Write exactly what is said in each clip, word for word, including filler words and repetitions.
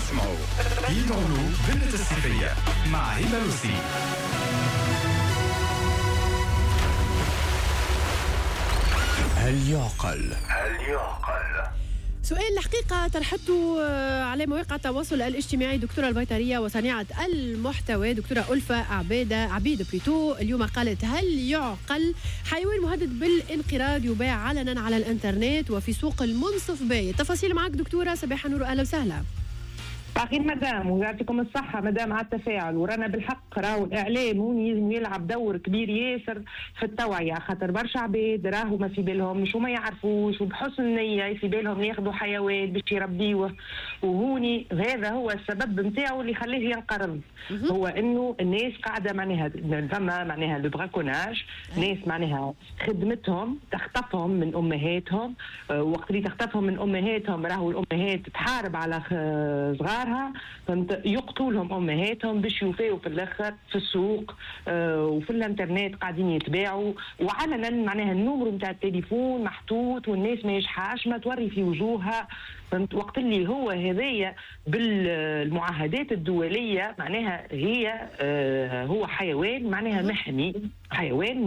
اسمعوا يدعو بنة الصيفية مع هبة لوسي. هل يعقل؟ هل يعقل؟ سؤال الحقيقة طرحته على مواقع التواصل الاجتماعي دكتورة البيطرية وصانعة المحتوى دكتورة ألفة عبيدة عبيد plutôt اليوم، قالت هل يعقل حيوان مهدد بالانقراض يباع علنا على الانترنت وفي سوق المنصف باي؟ التفاصيل معك دكتورة صباح النور، أهلا وسهلا. أخير مدام، ويعطيكم الصحة مدام على التفاعل. ورانا بالحق راهو الإعلام هون يلزم يلعب دور كبير ياسر في التوعية، خاطر برشا عباد راهو ما في بالهمش وما يعرفوش، وبحسن نية في بالهم ياخذوا حيوان باش يربيوه، وهوني هذا هو السبب نتاعو اللي خلاه ينقرض، هو إنه الناس قاعدة معناها فما معناها le braconnage، ناس معناها خدمتهم تخطفهم من أمهاتهم، وقت اللي تخطفهم من أمهاتهم راهو الأمهات تحارب على صغار، فهمت، يقتلوا لهم امهاتهم باش يوفيوا في الاخر في السوق آه وفي الانترنت قاعدين يتباعوا وعلنا، معناها ال numéro نتاع التليفون محطوط والناس ما يجحاش ما توري في وجوهها، فهمت. وقت اللي هو هذايا بالمعاهدات الدولية معناها هي آه هو حيوان معناها محمي، حيوان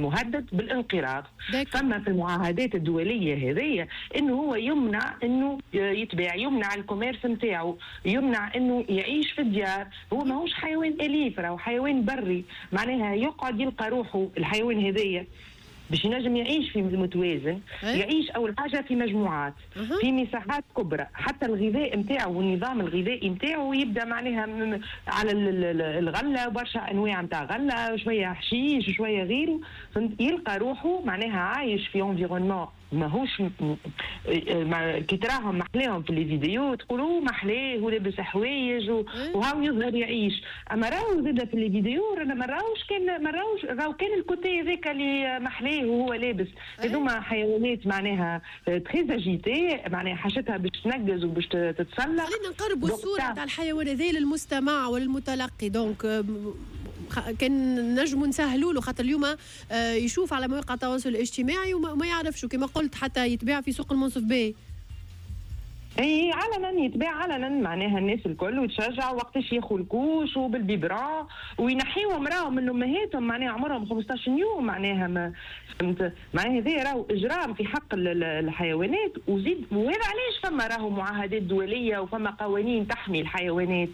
مهدد بالانقراض. فما في المعاهدات الدولية هذيا انه هو يمنع انه يتباع، يمنع ال commerce نتاعو، يمنع انه يعيش في الديار. هو ماهوش حيوان اليف، راهو حيوان بري، معناها يقعد يلقى روحه الحيوان هذايا باش ينجم يعيش في المتوازن، يعيش اول حاجة في مجموعات، في مساحات كبرى، حتى الغذاء نتاعو والنظام الغذائي نتاعو يبدا معناها على الغلة، برشا انواع نتاع غله، شوية حشيش شوية غيره، يلقى روحه معناها عايش في environnement ماهوش كي تراهم محلاهم في les vidéos تقولوا محلاه ولابس حوايج وهاو يظهر يعيش، اما راهو زاد في les vidéos رانا ما راهوش كان ما راهوش راهو كان ال côté هذاك اللي محلاه وهو لابس. هذوما حيوانات معناها très agitées، معناها حاجتها باش تنقز وباش تتسلق. خلينا نقربوا الصورة تاع الحيوان هذا للمستمع وللمتلقي، donc كان نجموا نسهلوا له، خاطر اليوم يشوف على مواقع التواصل الاجتماعي وما يعرفش كما قلت حتى يتباع في سوق المنصف باي. اي علنا يتباع علنا، معناها الناس الكل وتشجع وقتاش ياخذوا ال couches وبال biberon وينحيوهم راهو من امهاتهم، معناها عمرهم خمسطاش يوم، معناها ما فهمت، معناها هذا راهو اجرام في حق الحيوانات. وزيد وهذا علاش فما راهو معاهدات دولية وفما قوانين تحمي الحيوانات،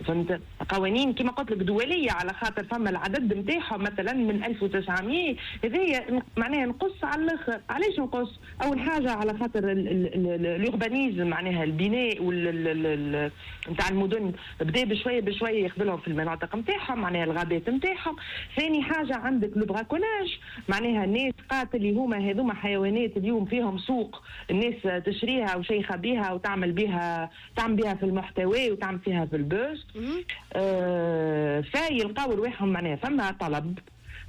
فهمت، قوانين كما قلت لك دولية، على خاطر فما العدد نتاعهم مثلا من ألف وتسعمية هذايا معناها نقص على الاخر. علاش نقص؟ اول حاجة على خاطر ال urbanisme، معناها البناء وال نتاع المدن بدا بشوية بشوية ياخذ لهم في المناطق نتاعهم، معناها الغابات نتاعهم. ثاني حاجة عندك le braconnage، معناها الناس قاتل اللي هما هذوما حيوانات اليوم فيهم سوق، الناس تشريها وشيخه بها وتعمل بها، تعمل بها في المحتوى وتعمل فيها في ال buzz. آه فيلقاو رواحهم معناها فما طلب،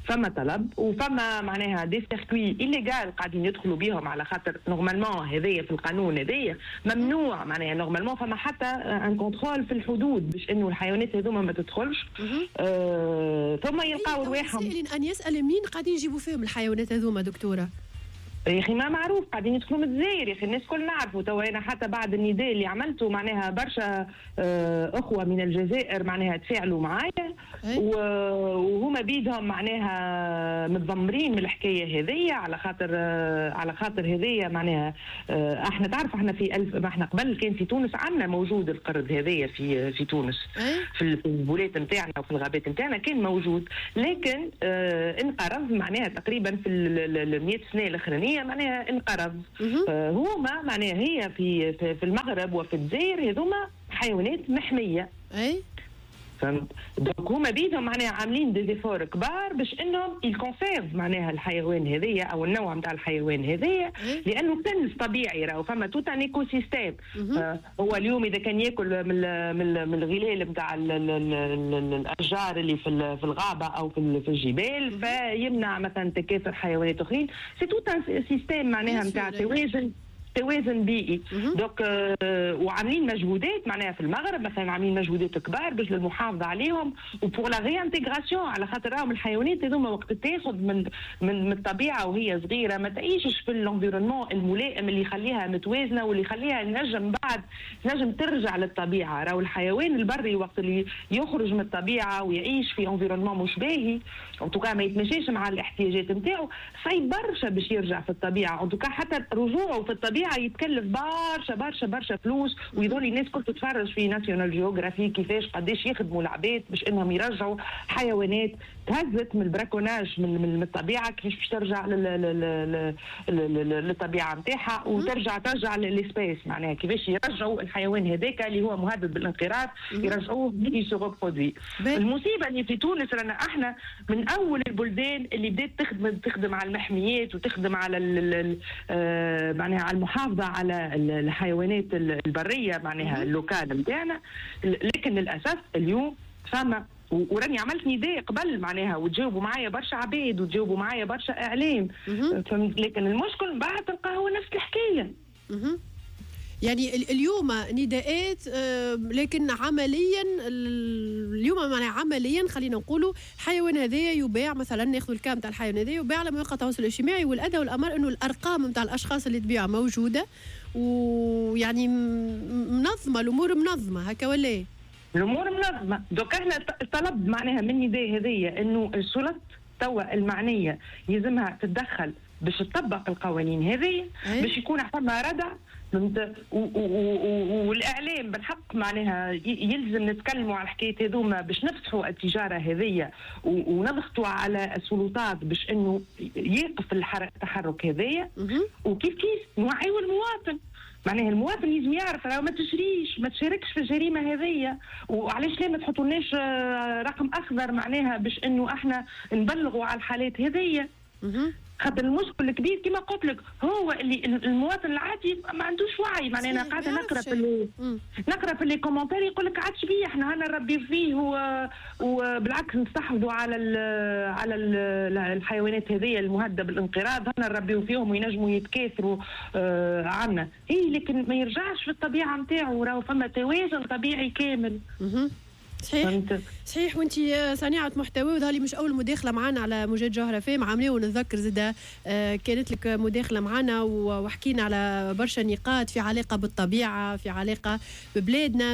فما طلب وفما معناها des circuits illégaux قاعدين يدخلوا بيهم، على خاطر normalement هذايا في القانون هذايا ممنوع، معناها normalement فما حتى un contrôle في الحدود باش انه الحيوانات هذوما ما تدخلش. آه ثم يلقاو رواحهم. ان يسال مين قاعدين يجيبوا فيهم الحيوانات هذوما دكتورة؟ يا اخي ما معروف، قاعدين يدخلوا من الجزائر يا اخي، الناس كل نعرفوا. توا انا حتى بعد النداء اللي عملته معناها برشا اخوه من الجزائر معناها تفاعلوا معايا، وهما بيدهم معناها متذمرين من الحكاية هذيا، على خاطر على خاطر هذيا معناها احنا تعرف احنا في ألف، ما احنا قبل كان في تونس عندنا موجود القرد هذايا في في تونس، في البولات نتاعنا وفي الغابات نتاعنا كان موجود، لكن اه انقرض معناها تقريبا في ال مية سنة الاخرانية معناها انقرض. آه هما معناها هي في في المغرب وفي الجزائر هذوما حيوانات محمية. اي فهمت، donc هما بيدهم معناها عاملين des efforts كبار باش انهم ils conservent معناها الحيوان هذايا او النوع نتاع الحيوان هذايا، لانه كنز طبيعي راهو فما tout un écosystème. هو اليوم اذا كان ياكل من من من الغلال نتاع الاشجار اللي في في الغابة او في في الجبال، فيمنع مثلا تكاثر حيوانات اخرين. c'est tout un système معناها نتاع توازن توازن بيئي. donc آه وعاملين مجهودات معناها في المغرب مثلا، عاملين مجهودات كبار باش للمحافظة عليهم و pour la réintégration، على خاطر راهم الحيوانات هذوما وقت تاخذ من من من الطبيعة وهي صغيرة ما تعيشش في l'environnement الملائم اللي يخليها متوازنة واللي يخليها نجم بعد نجم ترجع للطبيعه. راهو الحيوان البري وقت اللي يخرج من الطبيعة ويعيش في environnement مش باهي، en tout cas ما يتماشاش مع الاحتياجات نتاعو، صعيب برشا باش يرجع في الطبيعه. en tout cas حتى رجوعه في الطبيعة يتكلف برشا برشا برشا فلوس. ويظل الناس كل تتفرج في National Geographic كيفاش قداش يخدموا العباد باش انهم يرجعوا حيوانات تهزت من ال braconnage من, من الطبيعه، كيفاش باش ترجع للطبيعة نتاعها وترجع ترجع l'espèce، معناها كيفاش يرجعوا الحيوان هذاك اللي هو مهدد بالانقراض يرجعوه se reproduit. المصيبة اللي في تونس رانا احنا من اول البلدان اللي بدات تخدم تخدم على المحميات وتخدم على آه، معناها على المحافظة على الحيوانات البرية معناها ال locales نتاعنا، لكن للاسف اليوم فما، وراني عملت نداء قبل معناها وتجاوبوا معايا برشا عباد وتجاوبوا معايا برشا اعلام، لكن المشكل بعد تلقى هو نفس الحكايه. يعني اليوم نداءات، لكن عمليا اليوم معناها عمليا خلينا نقولوا الحيوان هذايا يباع، مثلا ناخذ ال cas متاع الحيوان هذايا يباع على مواقع التواصل الاجتماعي، والادهى والامر انه الارقام نتاع الاشخاص اللي تبيع موجوده، ويعني منظمه، الامور منظمة هكا ولا إيه؟ الامور منظمه. donc احنا طلب معناها من نداء هذيا انه السلطات توا المعنية يلزمها تتدخل باش تطبق القوانين هذه باش يكون فما ردع، فهمت؟ والاعلام بالحق معناها يلزم نتكلموا على الحكاية هذوما باش نفتحوا التجارة هذيا ونضغطوا على السلطات باش انه يقف التحرك هذايا. وكيف كيف نوعيوا المواطن، معناها المواطن لازم يعرف راهو ما تشريش، ما تشاركش في الجريمة هذيا. وعلاش لا ما تحطولناش آه، رقم اخضر معناها باش انه احنا نبلغوا على الحالات هذيا؟ خاطر المشكل الكبير كما قلت لك هو اللي المواطن العادي ما عندوش وعي. معناها انا قاعدة نقرا في نقرا في les commentaires يقول لك عادش بيه، احنا هنا نربي فيه وبالعكس نستحفظوا على ال على ال الحيوانات هذه المهدده بالانقراض، هنا نربيو فيهم وينجموا يتكاثروا آه عنا اي، لكن ما يرجعش في الطبيعة نتاعو، راهو فما توازن طبيعي كامل. صحيح صحيح. وانت صانعه محتوى وظهر مش اول مداخله معنا على موجات جوهره أف أم عاملين، ونتذكر زاده آه، كانت لك مداخله معنا وحكينا على برشا نقاط في علاقة بالطبيعه، في علاقة ببلادنا.